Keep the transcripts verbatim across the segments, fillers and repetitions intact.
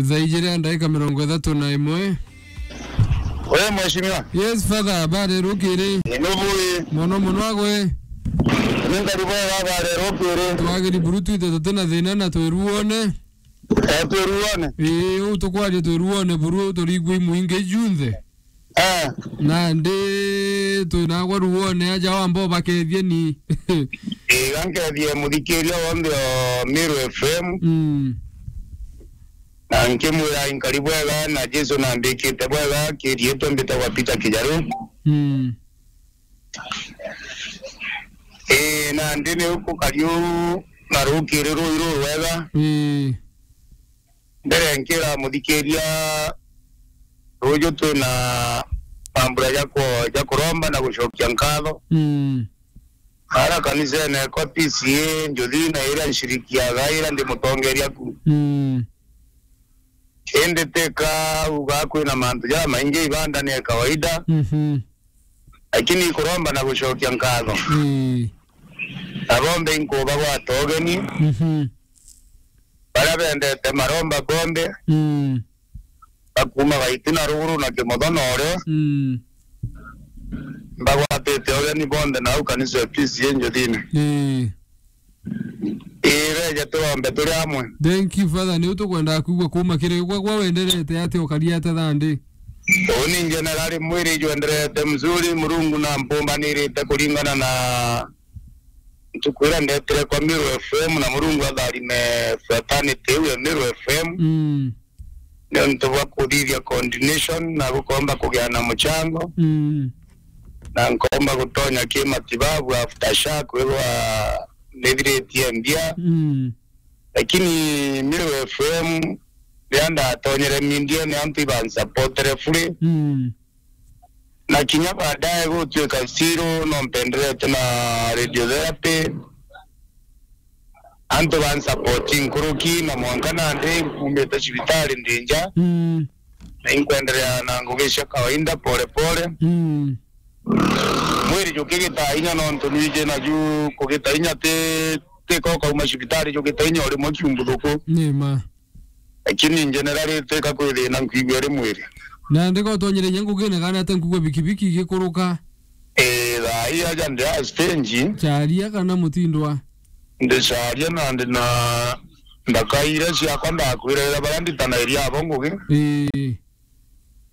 Thaa ijiri na ndagika mirongo ithatu na imwe. We, mheshimiwa. Yes, Father, habari rukiri? Ni nubu ii. Mono mono agwe. Ni nkari bwega, habari rukiri? Twagiri buru, twite tuti na thina na twiruone. Eh, twiruone? Ii, uu tukwaria twiruone buru, turigwe imwingi junthe. Eh. Nandi twinagwa ruone aja wamba ubakethie ni. Iga nkethie muthikiria wonthe o Meru F M. Mm. Na nkimwira inkari bwega na Jesu na mbikite bwega, kiriitwe mbitagwa Peter Kijaru. Mm. Ii, nandi ni ukukari uu na rukiri rui rurwega. Ii. Mbere nkira muthikiria, ruju twina mambura ja ku-, ja kuromba na gucokia nkatho. Mm. Ara kanisene kwa P C A, njuthi na iria nshirikiaga, iria ndi mutongeria ku. Mm. Indi tika uga kwina mantu jamaingi, ibanda ni ya kawaida. Mhm. Lakini ikuromba na gucokia nkatho. Ii. Na bonthe inkuba gwata ugeni. Mhm. Baria bendete maromba bonthe. Mm. Bakuma Gaiti na ruguru na Kimotho na urio. Mm. Mbagwatite ugeni bonthe nau kanisa ya P C A njuthine. Ii. Ii, beja turombe turi amwe. Thank you, Father. Niu tukwendaga kwigua kuma kiri gwa, gwa wenderete atia, ukari atia thandi? Uni generali, mwiri jwenderete mzuri, Murungu na mpumbanirite kuringana na ntuku iria ndetire kwa Meru F M, na Murungu atharime fraternity iu ya Meru F M. Mm. Niuntu bwa kuthithia coordination na gukomba kugia na muchango. Mm. Na nkomba gutonya kimatibabu after sha kwithwa nithiritie mbia. Mm. Lakini Meru F M, riria ndatonyere mindiene, antu ibansupportere fully. Mm. Na kinya baadaye gutuika still no mpenderete na radiotherapy. Antu bansupporti nkuruki, na mwanka nandi nkumite cibitari ndi nja. Mm. Na inkwenderea na ngugi cia kawaida pole pole. Mm. Mwiri jukigita inya nontu nwiji naju kugita inya ti, ti ko kauma cibitari jukita inya o rimwe kiumbuthuku. Ni ma. Lakini generally twika kwithina nkwigua iri mwiri. Na ndika utonyere inya ngugine kana ate nkugua bikibiki igikuruka? Ee, thaa ii aja ndi a stage. Charia kana mutindwa? Ndi charia na ndi na ndaka iria ciakwa ndakwira iria baria nditanairia abo ngugi. Ii.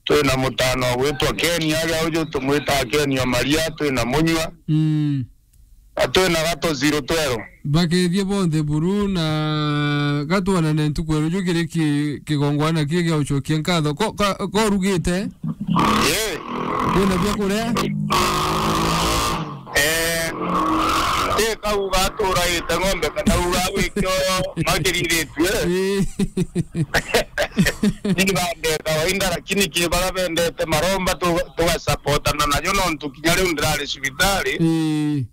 Twina mutano gwitwa Ken aria uju tumwita Ken o Maria, twina Munyua. Mm. Na twina Gato Zero Twero. Bakethie bonthe buru na gatwanane ntuku ya ruju kiri ki-, kigongwana kii gia ucokia nkatho. Ko, ka, ko urugite? Ii. Kwina bia kuria? Eh, ti kauga aturaite ng'ombe kana uga gwikio magiritue. Ii. Ni bande kawaida, lakini ki bara bendete maromba tu-, tugasupportana najo nontu kinya riu ndirari cibitari. Ii.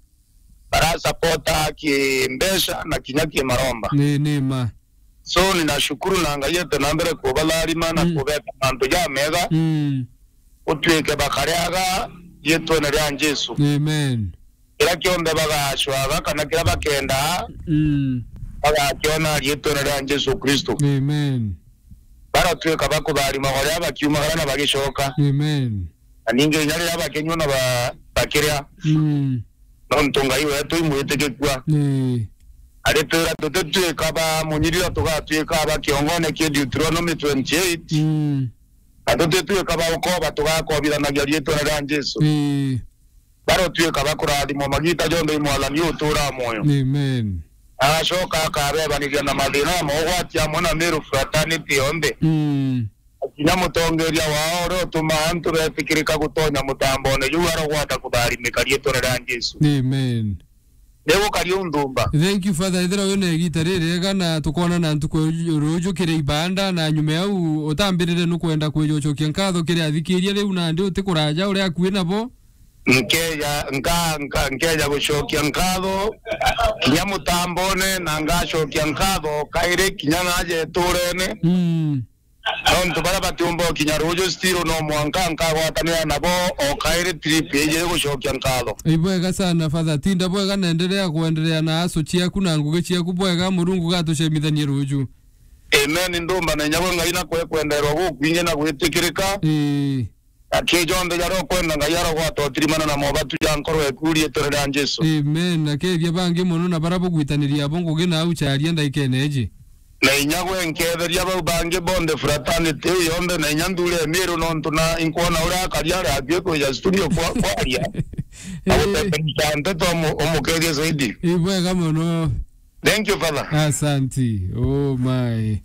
Barasupporta ki mbeca na kinya ki maromba. Ni, ni ma. So, ninashukuru na Ngai ete na mbere kubatharima na, mm, kubeta mantu jamega. Mm. Utuike bakariaga riitwene ria Jesu. Amen. Kiria kionthe bagacwaga kana kiria bakendaa, mm, bagakiona riitwene ria Jesu Kristo. Amen. Baratuika bakutharima baria bakiumagara na bagicoka. Amen. Na ningi inya riria bakinyua na ba-, bakiria. Mm. Nontu Ngai wetu imwitikikua. Ii. Aritwira tutituika ba munyiriro, tugatuika ba kiongone kia Deuteronomy twenty-eight. Mm. Na tutituika ba ukoba, tugakobithanagia riitwene ria Jesu. Ii. Barotuika ba kurathimwa magiita jonthe i Mwathani uturaa mwoyo. Amen. Agacoka akabebaniria na mathina na mogwati amwe na Meru fraternity yonthe. Mm. Kinya mutongeria wao uria utumaa antu betikirika gutonya mutambone juu arogwata kutharimika riitwene ria Jesu. Amen. Nigukaria unthumba. Thank you, Father. Ethira wina igiita ririega na tukoonana ntuku ya ruju kiri ibanda, na nyuma yau utambirire nukwenda kwija ucokia nkatho kiri athikiria riu nandi uti kuraja uria akui nabo. Nkeja, nka-, nka-, nkeja gucokia nkatho kinya mutambone, na ngacokia nkatho kairi kinya naja iturene. Mm. Nontu baria batiumba ukinya ruju, still no mwanka nkagwatanira nabo o kairi trip ijiri gucokia nkatho. Ibwega sana, Father. Tinda bwega na endelea kuendelea na aso ciaku na ngugi ciaku bwega. Murungu gatucemithanie ruju. Amen. Ndumba na inya gwe Ngai na kwe kwenderwa gukwingi na gwitikirika. Ii. Aki jonthe jaria ukwenda Ngai arogwata utirimana na mobatu ja nkoro eku riitwa ria Jesu. Amen. Na kethia bangi mono na baria bugwitaniria abo ngugi na au charia ndaikene iji. Na inya gwe nketheria bau bangi bonthe fraternity iu yonthe na inya nthuri emiru nontu na inkwona uria akaria ari akui kwija studio kwa-, kwaria. Na Ii. guteterisha nteto umu-, umukethie zaidi. Ibwega mono. Thank you, Father. Asanti. Oh my.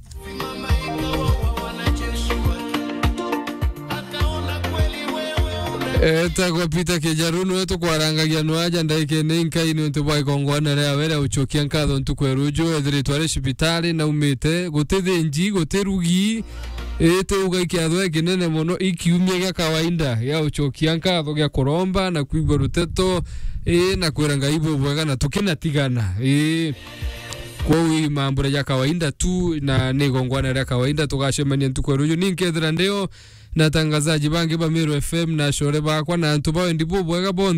Etagwa Peter Kijaru, niwe tukwarangagia no aja ndaikene inkai niuntu bwa igongwana riawe ria ucokia nkatho ntuku ya ruju. Ethiritwe ari cibitari, naumite, guti thinji, guti rugi, iti uga ikiatho ikinene mono, ikiumia gia kawaida gia ucokia nkatho, gia kuromba na kwigua ruteto, ii, na kwira Ngai bubwega na tukinatigana, ii. Kwou ii mambura ja kawaida tu, na ni igongwana ria kawaida. Tugacemania ntuku ya ruju. Ni nkethira ndio na atangazaji bangi ba Meru F M na acore bakwa na antu ba wendi bubwega bonthe.